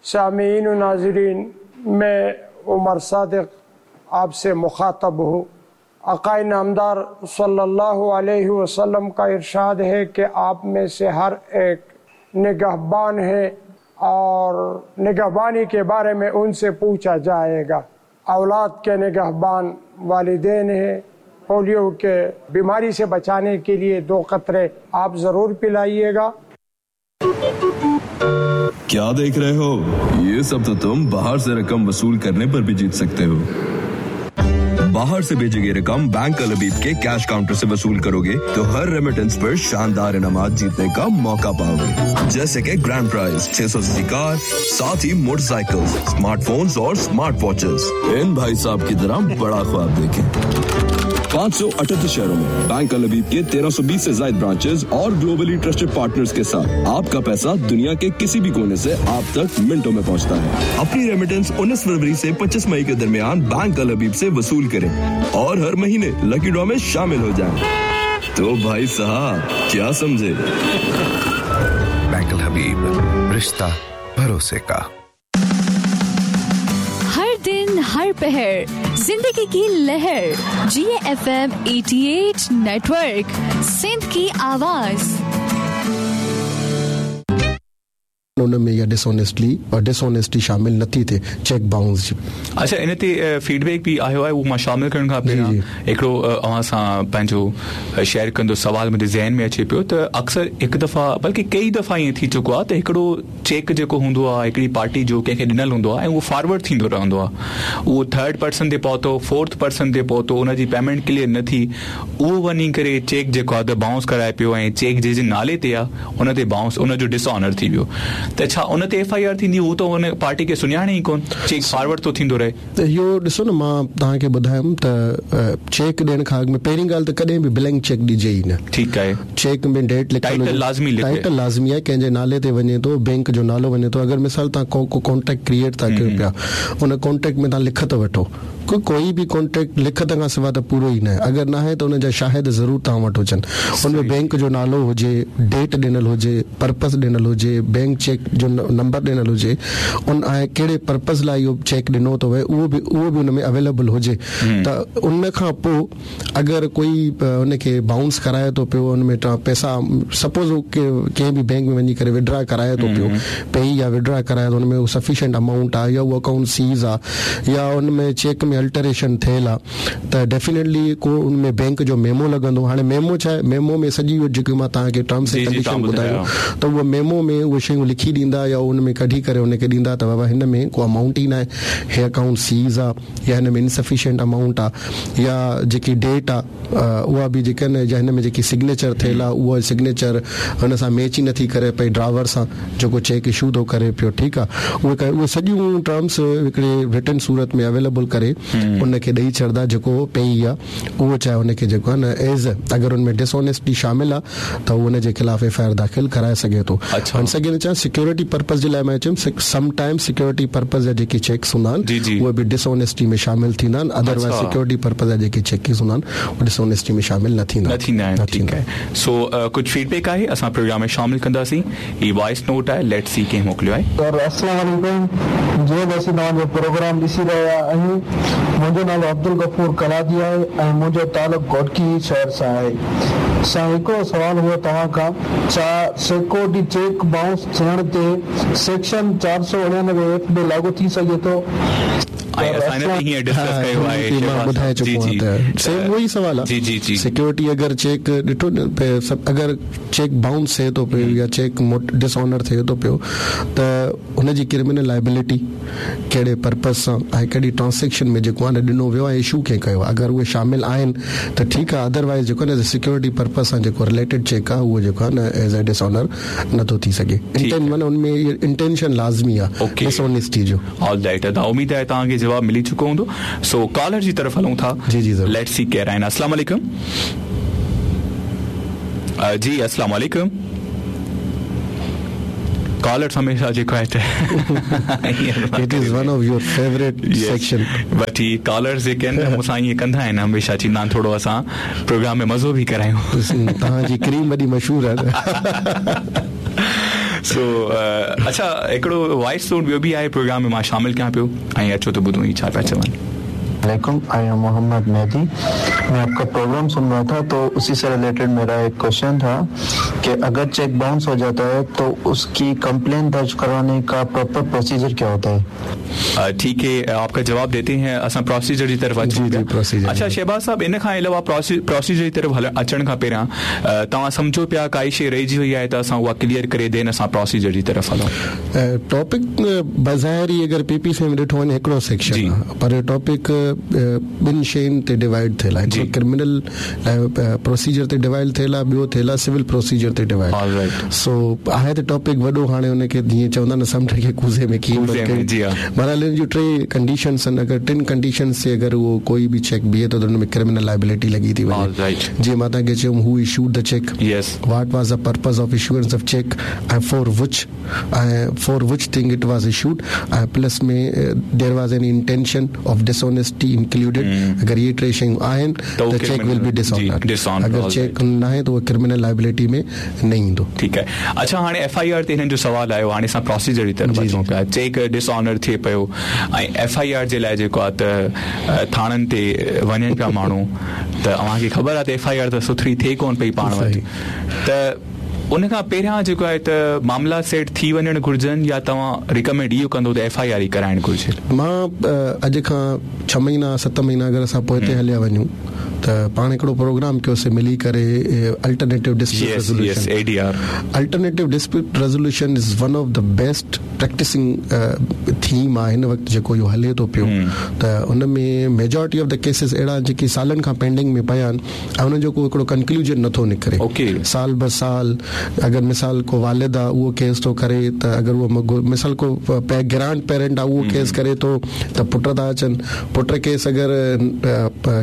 सामीन नाजरीन, मैं उमर सादिक आपसे मुखातब हूँ। आकाए नामदार सल्लल्लाहु अलैहि वसल्लम का इरशाद है कि आप में से हर एक निगहबान है और निगहबानी के बारे में उनसे पूछा जाएगा। औलाद के निगहबान वालिदैन हैं। पोलियो के बीमारी से बचाने के लिए 2 कतरे आप ज़रूर पिलाइएगा। क्या देख रहे हो? ये सब तो तुम बाहर से रकम वसूल करने पर भी जीत सकते हो। बाहर से भेजी गई रकम बैंक अल हबीब के कैश काउंटर से वसूल करोगे तो हर रेमिटेंस पर शानदार इनामात जीतने का मौका पाओगे, जैसे कि ग्रैंड प्राइज 600 सीसी कार, साथ ही मोटरसाइकिल, स्मार्टफोन्स और स्मार्ट वॉचेस। इन भाई साहब की तरह बड़ा ख्वाब देखें। 578 शहरों में बैंक अल हबीब के 1320 से ज्यादा ब्रांचेस और ग्लोबली ट्रस्टेड पार्टनर्स के साथ आपका पैसा दुनिया के किसी भी कोने से आप तक मिनटों में पहुंचता है। अपनी रेमिटेंस 19 फरवरी से 25 मई के दरमियान बैंक अल हबीब से वसूल करें और हर महीने लकी ड्रॉ में शामिल हो जाएं। तो भाई साहब क्या समझे? बैंक अल हबीब, रिश्ता भरोसे का। हर दिन हर पहर जिंदगी की लहर, GFM 88 network, Sindh की आवाज। उन में इहा डिसऑनेस्टली और डिसऑनेस्टी शामिल नथी थिए चेक बाउंस जी। अच्छा, इन ते फीडबैक बि आयो आहे, उहो मां शामिल करण खां पहिरियां हिकिड़ो अव्हां सां पंहिंजो शेयर कंदो सवाल मुंहिंजे ज़हन में अचे पियो त अक्सर हिकु दफ़ा बल्कि कई दफ़ा ईअं थी चुको आहे त हिकिड़ो चेक जेको हूंदो आहे हिकिड़ी पार्टी जो कंहिंखे ॾिनल हूंदो आहे ऐं उहो फॉरवर्ड थींदो रहंदो आहे, उहो थर्ड पर्सन ते पहुतो, फोर्थ पर्सन ते पहुतो, उनजी पेमेंट क्लियर न थी, उहो वञी करे चेक जेको आहे त बाउंस कराए पियो ऐं चेक जंहिंजे नाले ते आहे उन ते बाउंस, उनजो डिसऑनर थी वियो। त छा उन ते एफ I R थींदी? हू त उन पार्टी खे सुञाणे ई कोन, चेक फॉरवर्ड थो थींदो रहे। त इहो ॾिसो न, मां तव्हांखे ॿुधायुमि त चेक ॾियण खां अॻु में पहिरीं ॻाल्हि त कॾहिं बि ब्लैंक चेक ॾिजे ई न। ठीकु आहे, चेक में डेट लिखियल टाइटल लाज़मी लिखे, टाइटल लाज़मी आहे, कंहिंजे नाले ते वञे थो, बैंक जो नालो वञे थो। अगरि मिसाल तव्हां को कॉन्ट्रैक्ट क्रिएट था कयो पिया, उन कॉन्ट्रैक्ट में तव्हां लिखत वठो, कोई बि कॉन्ट्रैक्ट लिखत खां सवाइ त पूरो ई न आहे। अगरि न आहे त उनजा शाहिद ज़रूरु तव्हां वटि हुजनि, उन में बैंक जो नालो हुजे, डेट ॾिनल हुजे, पर्पस ॾिनल हुजे, बैंक चेक जो नंबर ॾिनल हुजे, उन ऐं कहिड़े पर्पस लाइ इहो चेक ॾिनो थो वए उहो बि उन में अवेलेबल हुजे। त उन खां पोइ अगरि कोई उनखे बाउंस कराए थो पियो, उन में पैसा सपोज़ कंहिं बि बैंक में वञी करे विड्रा कराए थो पियो, पे या विड्रा कराए थो, उन में सफिशिएंट अमाउंट आहे या उहो अकाउंट सीज़ आहे या उन में चेक में अल्टरेशन थियल आहे, त डेफिनेटली को उन में बैंक जो मेमो लॻंदो। हाणे मेमो छा आहे, मेमो में सॼी उहो जेको मां तव्हांखे टर्म्स ऐं कंडीशन ॿुधायो त उहो मेमो में उहे शयूं लिखी ॾींदा या उन में कढी करे उनखे ॾींदा त बाबा हिन में को अमाउंट ई न आहे, हे अकाउंट सीज़ आहे या हिन में इनसफिशिएंट अमाउंट आहे या जेकी डेट आहे उहा बि जेका आहिनि या हिन में जेकी सिग्नेचर थियल आहे उहा सिग्नेचर हुन सां मैच ई नथी करे पई ड्राइवर सां जेको चेक इशू थो करे पियो। ठीकु आहे, उहे सॼियूं टर्म्स हिकिड़े रिटन सूरत में अवेलेबल करे उनखे ॾेई छॾंदा जेको पेई आहे उहो, चाहे उनखे जेको आहे न एज अगरि उन में डिसऑनेस्टी शामिल आहे त उहो उनजे ख़िलाफ़ एफ I R दाख़िल कराए सघे थो। सघे चाहे सिक्योरिटी पर्पज़ जे लाइ मां चयुमि, समटाइम सिक्योरिटी पर्पज़ जा जेके चेक्स हूंदा आहिनि उहे बि डिसऑनेस्टी में शामिल थींदा आहिनि, अदरवाइज़ सिक्योरिटी पर्पज़ जा जेके चेक्स हूंदा आहिनि उहे डिसऑनेस्टी में शामिल न थींदा आहिनि। ठीकु आहे, सो कुझु फीडबैक आहे असां प्रोग्राम में शामिल कंदासीं। हीउ वॉइस नोट आहे, let's see कंहिं मोकिलियो आहे। सर अस्सलाम वालेकुम, जीअं असीं तव्हांजो प्रोग्राम ॾिसी रहिया आहियूं, मुंहिंजो नालो अब्दुल गफ़ूर कलादी आहे ऐं मुंहिंजो तालुक़ घोटकी शहर सां आहे। सां हिकिड़ो सवाल हुओ तव्हां खां, छा सिक्योरिटी चेक बाउंस थियण ते सेक्शन 499 एफ में लागू थी सघे थो? ॿुधाए चुको आहियां त सेम उहो ई सवाल आहे। जी जी, सिक्योरिटी अगरि चेक ॾिठो न, अगरि चेक बाउंस थिए थो पियो या चेक डिसऑनर थिए थो पियो त हुनजी क्रिमिनल लाइबिलिटी कहिड़े पर्पज़ सां ऐं कहिड़ी ट्रांज़ेक्शन में जेको आहे न ॾिनो वियो आहे, इशू कंहिं कयो आहे, अगरि उहे शामिल आहिनि त ठीकु आहे, अदरवाइज़ जेको आहे न सिक्योरिटी पर्पज़ सां जेको रिलेटेड चेक आहे उहो जेको आहे न एज अ डिसऑनर नथो थी सघे। माना हुन में इंटेंशन लाज़मी आहे डिसऑनेस्टी जो। ऑल राइट, उम्मीद आहे तव्हांखे जवाब मिली चुको हूंदो। सो कॉलर जी तरफ़ हलूं था। जी जी, let's see केरु आहिनि। अस्सलाम वालेकुम। जी अस्सलाम वालेकुम। कॉलर्स हमेशा जेको आहे it is one of your favourite section, but he callers जेके आहिनि मूंसां ईअं कंदा आहिनि हमेशा, चवंदा आहिनि थोरो असां प्रोग्राम में मज़ो बि करायूं। तव्हांजी क्रीम वॾी मशहूरु आहे। سو اڇا هڪڙو وائس نوٽ ٻيو به آهي پروگرام ۾ مان شامل ڪيان پيو ۽ اچو ته ٻڌون هي ڇا پيا چون. عليڪم I am Muhammad Mehdi मैं आपका प्रोग्राम सुन रहा था तो उसी से रिलेटेड मेरा एक क्वेश्चन था कि अगर चेक बाउंस हो जाता है तो उसकी कंप्लेन दर्ज करवाने का प्रॉपर प्रोसीजर क्या होता है? ठीक है, आपका जवाब देते हैं। असां प्रोसीजर जी तरफ़ अचूं पिया। अच्छा शहबाज साहब, इन खां अलावा प्रोसीजर जी तरफ़ अचण खां पहिरियां तव्हां सम्झो पिया काई शइ रहिजी वई आहे त असां उहा क्लियर करे then असां प्रोसीजर जी तरफ़ हलूं। टॉपिक बज़ाहिर ई अगरि पीपीसी में ॾिठो वञे हिकिड़ो सेक्शन आहे, पर टॉपिक ॿिनि शयुनि ते डिवाइड थियल आहे। हिकिड़ो क्रिमिनल प्रोसीजर ते डिवाइड थियल आहे, ॿियो थियल आहे सिविल प्रोसीजर ते डिवाइड। सो आहे त टॉपिक वॾो, हाणे हुनखे जीअं चवंदा आहिनि समुंड खे कूज़े में कीअं बहरहाल इन जूं टे कंडीशंस आहिनि। अगरि टिनि कंडीशंस ते अगरि उहो कोई बि चेक बीहे थो त हुन में क्रिमिनल लाइबिलिटी लॻी थी वञे। जीअं मां तव्हांखे चयुमि, who issued the cheque, what was the purpose of issuance of cheque ऐं for which thing it was issued, ऐं plus में there was an intention of dishonesty included. अगरि इहे टे शयूं आहिनि त चेक will be dishonour, अगरि चेक न आहे त उहो क्रिमिनल लाइबिलिटी में न ईंदो। ठीकु आहे। अच्छा हाणे एफ I R ते हिननि जो सवालु आयो, हाणे असां प्रोसीजर जी तरफ़ अचूं पिया। चेक डिसऑनर थिए पियो ऐं एफ I R J लाइ जेको आहे त थाणनि ते वञनि पिया माण्हू, त अव्हांखे ख़बर आहे त एफ I R त सुथरी थिए कोन पई पाण वटि, त उन खां पहिरियां जेको आहे त मामला सेट थी वञणु घुर्जनि या तव्हां रिकमेंड इहो कंदो त एफ I R ई कराइणु घुर्जे? मां अॼु खां 6 महीना 7 महीना अगरि असां पोइते हलिया वञूं त पाण हिकिड़ो प्रोग्राम कयोसीं मिली करे alternative dispute resolution. ADR. Alternative dispute resolution is one of the best practising theme आहे हिन वक़्तु जेको इहो हले थो पियो। त उन में मेजॉरिटी ऑफ the cases अहिड़ा आहिनि जेके सालनि खां पेंडिंग में पिया आहिनि ऐं हुननि जो को हिकिड़ो कंक्लूजन नथो निकिरे। साल ब साल अगरि मिसाल को वालिद आहे उहो केस थो करे त अगरि उहो मिसाल को ग्रैंड पेरेंट आहे उहो केस करे थो त पुट था अचनि, पुट केस अगरि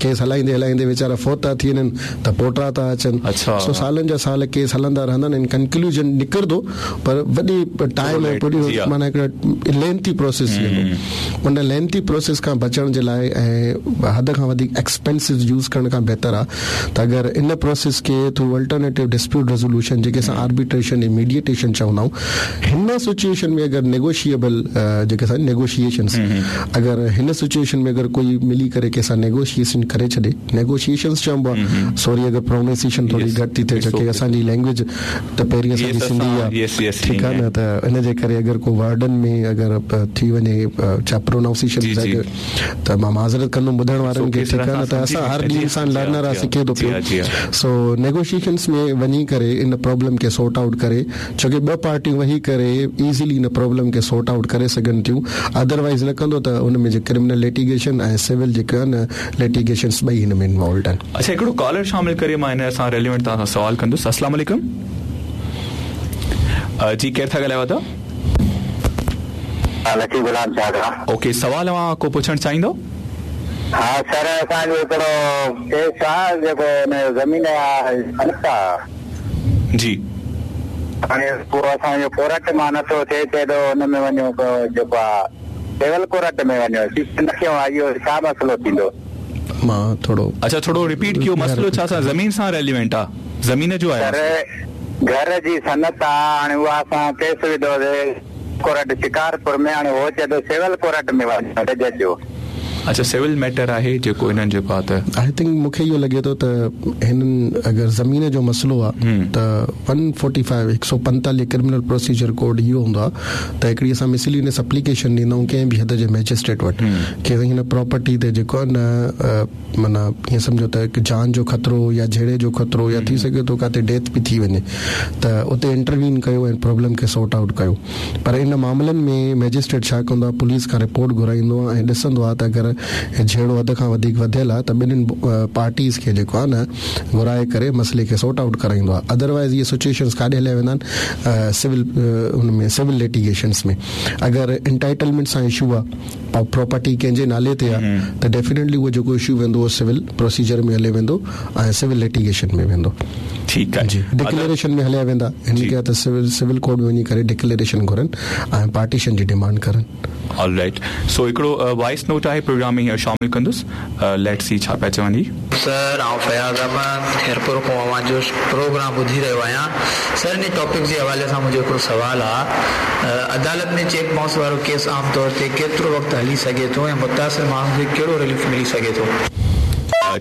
केस हलाईंदे हलाईंदे वीचारा फौत था थी वञनि त पोटरा था अचनि। सो सालनि जा साल केस हलंदा रहंदा आहिनि, कंक्लूजन निकिरंदो पर वॾी टाइम ऐं माना हिकिड़ो लेंथी प्रोसेस थी वेंदो। उन लेंथी प्रोसेस खां बचण जे लाइ ऐं हद खां वधीक एक्सपेंसिव यूज़ करण खां बहितर आहे त अगरि इन प्रोसेस खे थ्रू अल्टरनेटिव डिस्प्यूट रेज़ोल्यूशन जेके असां आर्बिट्रेशन ऐं मीडिएटेशन चवंदा आहियूं, हिन सिचुएशन में अगरि नेगोशिएबल जेके असां नेगोशिएशंस अगरि हिन सिचुएशन में अगरि कोई मिली करे कंहिंसां नेगोशिएशन करे छॾे, नेगोशिएशंस चइबो आहे, सॉरी अगरि प्रोनाउंसिएशन थोरी घटि थी थिए छो की असांजी लैंग्वेज त पहिरीं असांजी सिंधी आहे, ठीकु आहे न, त इन जे करे अगरि को वर्डनि में अगरि थी वञे छा प्रोनाउंसिएशन त मां माज़रत कंदुमि ॿुधण वारनि खे, ठीकु आहे न, त असां हर ॾींहुं इंसान लर्नर आहे, सिखे थो पियो। सो नेगोशिएशंस में वञी करे इन प्रॉब्लम खे सॉर्ट आउट करे, छो की ॿ पार्टियूं वेही करे ईज़िली इन प्रॉब्लम खे सॉर्ट आउट करे सघनि थियूं। अदरवाइज़ न कंदो त उन में क्रिमिनल लिटिगेशन ऐं सिविल जेके आहिनि लिटिगेशंस ॿई हिन में इन्वॉल्व आहिनि। अच्छा हिकिड़ो कॉलर शामिल करे मां हिन सां रेलिवेंट तव्हां सां सवाल कंदुसि। अस्सलाम वालेकुम जी, केरु था ॻाल्हायो था? लकी गुलाम शाह। ओके, सवाल अव्हां को पुछणु चाहींदो? हा सर, असांजो हिकिड़ो केस आहे जेको ज़मीन आहे जी, हाणे पोइ असांजो कोर्ट मां नथो थिए, चए थो हुन में वञो जेको आहे सिविल कोर्ट में वञो, न कयो आहे, इहो छा मसइलो थींदो? मां थोरो अच्छा थोरो रिपीट कयो, मसइलो छा सां ज़मीन सां रेलिवेंट आहे? ज़मीन जो आहे सर, घर जी सनत आहे, हाणे उहा असां केस विधोसीं कोर्ट शिकारपुर में, हाणे उहो चए थो सिविल कोर्ट में वञो जज जो। अच्छा सिविल मैटर आहे जेको हिननि जेको आहे त I think मूंखे इहो लॻे थो त हिननि अगरि ज़मीन जो मसइलो आहे त 145 145 क्रिमिनल प्रोसीजर कोड इहो हूंदो आहे त हिकिड़ी असां मिसलिनियस एप्लीकेशन ॾींदा आहियूं कंहिं बि हद जे मैजिस्ट्रेट वटि की हिन प्रॉपर्टी ते जेको आहे न माना ईअं सम्झो त हिकु जान जो ख़तरो या झेड़े जो ख़तरो या थी सघे थो किथे डेथ बि थी वञे त उते इंटरवीन कयो ऐं प्रॉब्लम खे सॉर्ट आउट कयो। पर इन मामलनि में मैजिस्ट्रेट छा कंदो आहे, पुलिस खां रिपोर्ट घुराईंदो आहे ऐं ॾिसंदो आहे त अगरि झेड़ो हद खां वधीक वधियल आहे त ॿिन्हिनि पार्टीज़ खे जेको आहे न घुराए करे मसइले खे सॉर्ट आउट कराईंदो आहे। अदरवाइज़ इहे सिचुएशंस काॾे हलिया वेंदा आहिनि, सिविल हुन में सिविल लिटिगेशंस में। अगरि एंटाइटलमेंट सां इशू आहे, प्रॉपर्टी कंहिंजे नाले ते आहे त डेफिनेटली उहो जेको इशू वेंदो उहो सिविल प्रोसीजर में हले वेंदो ऐं सिविल लिटिगेशन में वेंदो। ठीकु आहे जी, डिक्लेरेशन में हलिया वेंदा। हिन खे त सिविल कोर्ट में वञी करे डिक्लेरेशन घुरनि ऐं पार्टीशन जी डिमांड करनि। ऑलराइट, सो हिकिड़ो वॉइस नोट आहे प्रोग्राम پروگرام ۾ هينئر شامل ڪندس ليٽس سي ڇا پيا چون هي. سر آئون فياض احمد خيرپور کان اوهان جو پروگرام ٻڌي رهيو آهيان سر انهي ٽاپڪ جي حوالي سان منهنجو هڪڙو سوال آ عدالت ۾ چيڪ بائونس وارو ڪيس عام طور تي ڪيترو وقت هلي سگهي ٿو ۽ متاثر ماڻهن کي ڪهڙو رليف ملي سگهي ٿو.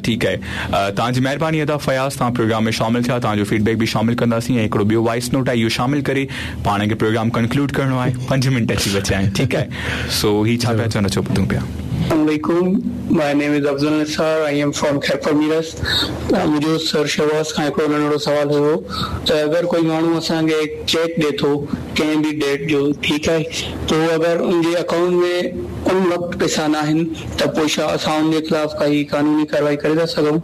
ٺيڪ آهي توهان جي مهرباني ادا فياض توهان پروگرام ۾ شامل ٿيا توهان جو فيڊبيڪ به شامل ڪنداسين ۽ هڪڙو ٻيو وائس نوٽ آهي اهو شامل ڪري پاڻ کي پروگرام ڪنڪلوڊ ڪرڻو آهي پنج منٽ اچي بچيا آهن ٺيڪ آهي سو هي ڇا پيا چون اچو ٻڌون پيا. السلام عليڪم my name is Afzal Nisar I am from Khairpur Mirs منهنجو سر شهباز کان هڪڙو ننڍڙو سوال هيو ته اگر ڪوئي ماڻهو اسان کي چيڪ ڏي ٿو ڪنهن به ڊيٽ جو ٺيڪ آهي تو اگر ان جي اڪائونٽ ۾ ان وقت پئسا ناهن ته پوء ڇا اسان ان جي خلاف ڪائي قانوني ڪارروائي ڪري ٿا سگهون؟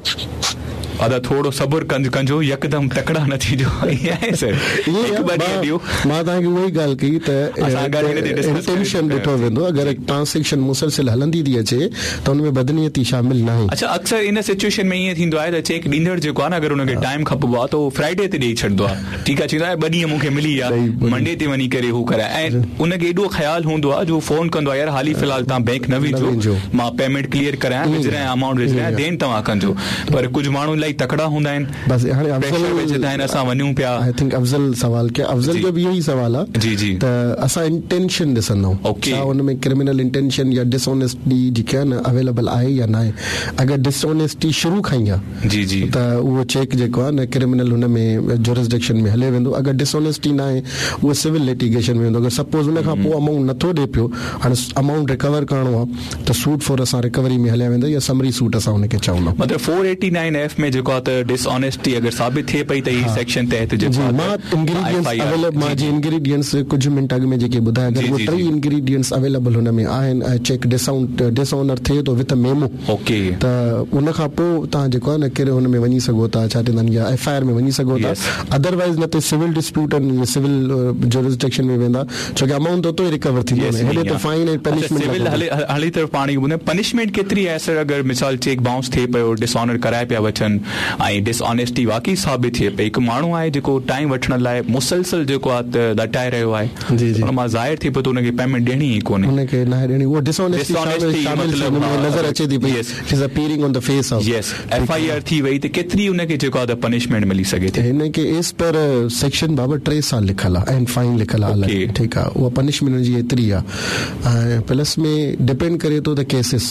ادا ٿورو صبر ڪجو يڪدم تڪڙا نه ٿيجو ائين آهي سر هڪ ٻه ڏينهن ڏيو. مان توهان کي اها ئي ڳالهه ڪئي ته انٽينشن ڏٺو ويندو اگر ٽرانسيڪشن مسلسل هلندي ٿي اچي ته ان ۾ بدنيتي شامل ناهي. اڇا اڪثر ان سچوئيشن ۾ ائين ٿيندو آهي ته چيڪ ڏيندڙ جيڪو آهي نه اگر ان کي ٽائيم کپبو آهي ته اهو فرائيڊي تي ڏئي ڇڏندو آهي ٺيڪ آهي چوندو آهي ٻه ڏينهن مون کي ملي ويا منڊي تي وڃي ڪري هو ڪرائي ۽ ان کي ايڏو خيال هوندو آهي جو فون ڪندو آهي يار حالي في الحال توهان بينڪ نه وڃجو مان پيمينٽ ڪليئر ڪرايان وجهرايان امائونٽ وجهرايان دين توهان ڪجو پر ڪجهه ماڻهو الاهي تڪڙا هوندا آهن بس هاڻي افضل وجهندا آهن اسان وڃون پيا I think افضل سوال ڪيو افضل جو به اهو ئي سوال آهي جي جي ته اسان انٽينشن ڏسندا آهيون ڇا ان ۾ ڪرمنل انٽينشن يا ڊس آنيسٽي جيڪي آهي نه اويليبل آهي يا ناهي اگر ڊس آنيسٽي شروع کان ئي آهي جي جي. ته اهو چيڪ جيڪو آهي نه ڪرمنل هن ۾ جورسڊڪشن ۾ هلي ويندو اگر ڊس آنيسٽي نه آهي اهو سول لٽيگيشن ۾ ويندو اگر سپوز ان کان پوء امائونٽ نٿو ڏي پيو هاڻي امائونٽ ريڪور ڪرڻو آهي ته سوٽ فور اسان ريڪوري ۾ هليا ويندا يا سمري سوٽ اسان ان کي چوندا مطلب فور ايٽي نائن ايف ۾ جيڪو آهي ته ڊس آنيسٽي اگر ثابت ٿئي پئي ته هي سيڪشن تحت جيڪو آهي مان انگريڊينٽس اويليبل مان جي انگريڊينٽس ڪجهه منٽ اڳ ۾ جيڪي ٻڌايا اگر اهي ٽئي انگريڊينٽس اويليبل هن ۾ آهن ۽ چيڪ ڊس آنر ٿئي ٿو وٿ ميمو اوڪي. ته ان کان پوء توهان جيڪو آهي نه ڪهڙي هن ۾ وڃي سگهو ٿا ڇا چوندا آهن يا ايف I R ۾ وڃي سگهو ٿا ادروائيز نه ته سول ڊسپيوٽ آهن اهي سول جورسڊڪشن ۾ ويندا ڇو ڪي امائونٽ ته اتو ئي ريڪور ٿيندو نه هيڏي ته فائن ۽ پنشمينٽ سول هلي هلي طرف پاڻ ٻڌايو پنشمينٽ ڪيتري آهي سر اگر مثال چيڪ بائونس ٿئي پيو ڊس آنر ڪرائي پيا وٺن ۽ ڊس آنيسٽي واقعي ثابت ٿئي پئي هڪ ماڻهو آهي جيڪو ٽائيم وٺڻ لاء مسلسل جيڪو آهي ته لٽائي رهيو آهي جي جي ان مان ظاهر ٿئي پيو ته ان کي پيمينٽ ڏيڻي ئي ڪونهي. ان کي ناهي ڏيڻي اهو ڊس آنيسٽي شامل شامل ٿي ان ۾ نظر اچي ٿي پئي it is appearing on the face of. Yes F I R ٿي وئي ته ڪيتري ان کي جيڪو آهي ته پنشمينٽ ملي سگهي ٿي. هن کي ايز پر سيڪشن بابا ٽي سال لکيل آهي ۽ فائن لکيل آهي الڳ ٺيڪ آهي اها پنشمينٽ ان جي ايتري آهي ۽ پلس ۾ ڊپينڊ ڪري ٿو ته ڪيسز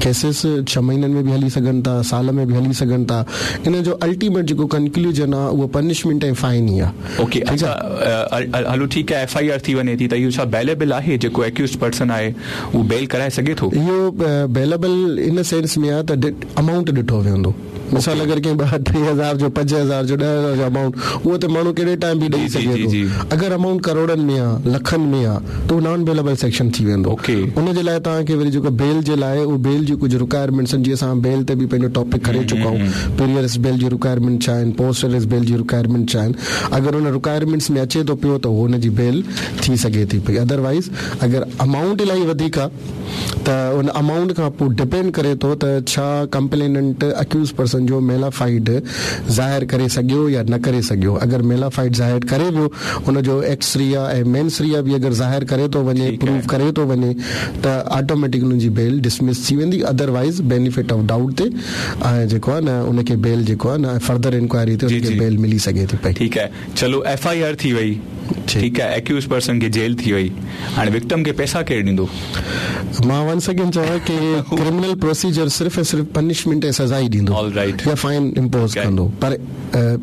ڪيسز ڇهه مهينن ۾ به هلي سگهن ٿا سال ۾ به هلي سگهن ٿا ان جو الٽيميٽ جيڪو ڪنڪلوزن آهي اهو پنشمينٽ ۽ فائن ئي آهي. اوڪي اڇا هلو ٺيڪ آهي ايف I R ٿي وڃي ٿي ته اهو ڇا بيليبل آهي جيڪو اڪيوزڊ پرسن آهي اهو بيل ڪرائي سگهي ٿو؟ اهو بيليبل ان سينس ۾ آهي ته امائونٽ ڏٺو ويندو مثال اگر ڪنهن ٻه ٽي هزار جو پنج هزار جو ڏهه هزار جو امائونٽ اهو ته ماڻهو ڪهڙي ٽائيم به ڏئي سگهي ٿو اگر امائونٽ ڪروڙن ۾ آهي لکن ۾ آهي ته اهو نان بيليبل سيڪشن ٿي ويندو ان جي لاء توهان کي وري جيڪو بيل جي لاء اهو بيل جون ڪجهه رڪوائرمينٽس آهن جيئن اسان بيل تي به پنهنجو ٽاپڪ ڪري چڪا آهيون پري اريسٽ بيل جون رڪوائرمينٽ ڇا آهن پوسٽ اريسٽ بيل جي رڪوائرمينٽ ڇا آهن اگر ان رڪوائرمينٽس ۾ اچي ٿو پيو ته ان جي بيل ٿي سگهي ٿي پئي ادروائيز اگر امائونٽ الاهي وڌيڪ آهي ته ان امائونٽ کان پوء ڊپينڊ ڪري ٿو ته ڇا ڪمپليننٽ اڪيوز پرسن جو ميلافائيڊ ظاهر ڪري سگهيو يا نه ڪري سگهيو اگر ميلافائيڊ ظاهر ڪري ويو ان جو ايڪس ريا ۽ مينس ريا به اگر ظاهر ڪري ٿو وڃي پروف ڪري ٿو وڃي ته آٽوميٽڪ ان جي بيل ڊسمس ٿي ويندي ادروائيز بينيفٽ آف ڊائوٽ تي ۽ جيڪو آهي نه ان کي بيل جيڪو آهي نه فردر انڪوائري تي ان کي بيل ملي سگهي ٿي پئي. ٺيڪ آهي چلو ايف I R ٿي وئي ٺيڪ آهي اڪيوز پرسن کي جيل ٿي وئي هاڻي وڪٽم کي پئسا ڪير ڏيندو؟ مان ونس اگين چوان ڪي ڪرمنل پروسيجر صرف ۽ صرف پنشمينٽ ۽ سزا ئي ڏيندو يا فائن امپوز ڪندو پر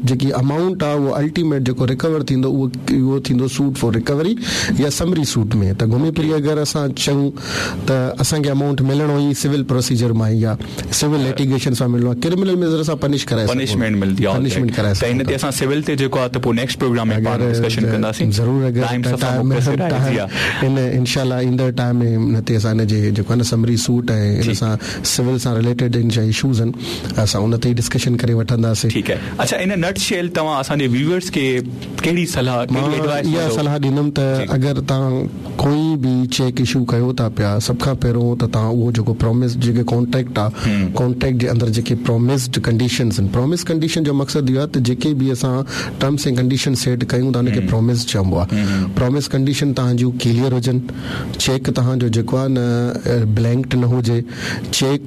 جيڪي امائونٽ آ اهو الٽيميٽ جيڪو ريڪور ٿيندو اهو اهو ٿيندو سوٽ فار ريڪوري يا سمري سوٽ ۾ ته گهمي ڦري اگر اسان چئون ته اسان کي امائونٽ ملڻو ئي سول پروسيجر مان ئي آ سول لٽيگيشن سان ملڻو آ ڪرمنل ۾ ذرا سا پنش ڪرائي سگهون پنشمينٽ ملندي آ پنشمينٽ ڪرائي ته ان تي اسان سول تي جيڪو آ ته پوء نيڪسٽ پروگرام ۾ پاڻ ڊسڪشن ڪنداسين ضرور اگر ٽائيم صفا مختصر آهي جي ها ان انشاء الله ايندڙ ٽائيم ۾ ان تي اسان ان جي جيڪو آ نه سمري سوٽ ۽ ان سان سول سان رليٽيڊ ان جا اشوز آهن اسان ان تي ئي ڊسڪشن ڪري وٺنداسين. ٺيڪ آهي اڇا ان نٽ شيل توهان اسان جي ويورز کي ڪهڙي صلاح مان ڪهڙي ايڊوائس اها ڏيندو. صلاح ڏيندم ته اگر توهان ڪوئي به چيڪ اشو ڪيو ٿا پيا سڀ کان پهريون ته توهان اهو جيڪو پرامس جيڪي ڪانٽريڪٽ آ ڪانٽريڪٽ جي اندر جيڪي پرامسڊ ڪنڊيشنز آهن پرامس ڪنڊيشن جو مقصد اهو آهي ته جيڪي به اسان ٽرمس ۽ ڪنڊيشن سيٽ ڪيون ٿا ان کي پرامس پرامس چئبو آهي. پرامس ڪنڊيشن توهان جون ڪليئر هجن، چيڪ توهان جو جيڪو آهي نه بلينڪ نه هجي، چيڪ